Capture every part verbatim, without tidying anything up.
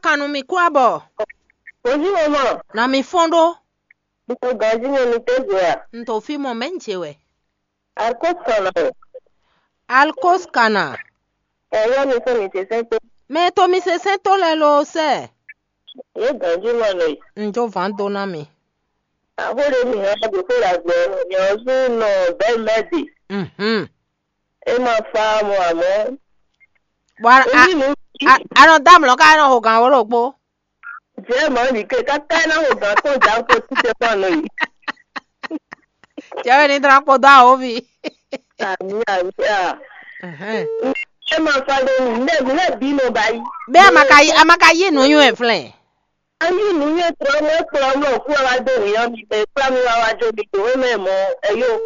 Anu mi kú abɔ. Bonjour maman. Na mi fɔn ɖó. Nto ganji mɛ mi tɛ zɛ a? Nto fi mɔ mɛ nje wɛ. Alkos kana o. Alkos kana. Ɛ yɔ mi fún mi tɛ sɛn tó. Mɛ to mi se sɛn tó lɛ lo sɛ. Ye ganji mɛ nɔ yi. Njo van do na mi. Aho ɖe mi hã ɖo xó la gbɔ nyɔ zu nɔ bɛ mɛ di. Mhm. E ma fa mɔ amɔ. Bɔ a, a, a, a nɔ dá mlɔ ká nɔ ho gan wó ɖokpó. Jɛ mɔ ɖi ke kaka na ho gan tó ja ko ti te kpɔn nɔ yi. Jɛ wɛ ni dra kpo dó awo vi. Ami ami a. Mhm. E ma fa ɖe mi ne mi ne bi nɔ ba yi. Bɛ a ma ka yi a ma ka yi nu nyu e flɛ. Ayi nu ye trɔ mo kplɔ mɔ ku wa do wi ɔ mi be kpla mi wa wa jo mi do we mɛ mɔ eyo.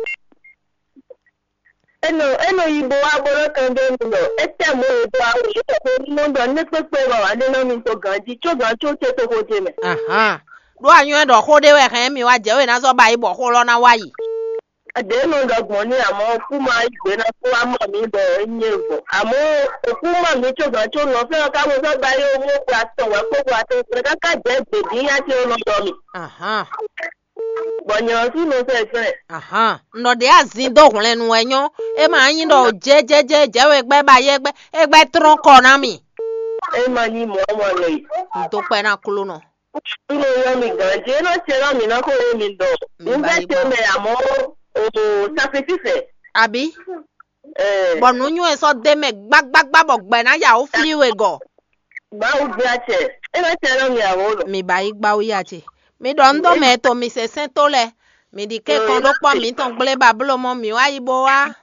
Eno eno yi bo wa bo lɔ kan de mi lɔ. Etɛ mo e do awu ye ko ni mo dɔ ne kpekpe ba wa de na mi to ganji tso gan tso te to ko je mɛ. Ahan. Ɖó anyɔ ɖɔ xó ɖé wɛ hɛn mi wá jɛ wɛ ná zɔ ba yi bɔ xó lɔ ná wá yi. Ɖě nɔ ɖɔ gbɔn ní àmọ́ kú máa yí gbé ná kú wá mọ̀ mí bɔ é nyí e vɔ. Àmọ́ òkú mọ̀ mí tso gǎn tso nɔ fɛ́n ɔ́ ká bó sɔ́ gba yé ó mú kpo atɔn wɛ̌ kpó kpo atɔn kplé káká jɛ̌ gbědín yá ce ó nɔ ɖɔ mì. Ahán. Bɔ nyɛ ɔ́ sú nɔ sɛ fɛ́n. Ahán. Un ɖɔ ɖě azin dó hwlɛnnu wɛ nyɔ́. É ma nyí ɖɔ jɛ́jɛ́jɛ́ jɛ̌ wɛ gbɛ́ ba yɛ gbɛ́ é gbɛ́ tlɔ́n kɔ ná mì. É ma nyí mɔ̌ mɔ nɔ yi. Un dó kpɛ́ ná kló nɔ. Nínú yɔ mi gǎn jí é nɔ ce nɔ mǐ nɔ xó e mi ɖɔ. Mi Un bá bɛ yí te gbɔ. Mɛ àmọ́ o sakrifísɛ. Àbí? Ɛɛ. Bɔ nǔ nyɔ́ ɛ sɔ́ dé mɛ gbágbágbá bɔ gbɛ̌ ná ya wó flí we gɔ. Mawu gbé acɛ. É nɔ ce nɔ mi àwọ̀ lɔ. Mi ba yí gbá wú ya ce. Mi ɖɔ un dó mɛ to mi se sɛn tó lɛ. Mi ɖi kɛ́kɔn ɖó kpɔ́ mǐtɔn gblé ba bló mɔ mǐ wá yi bó wá.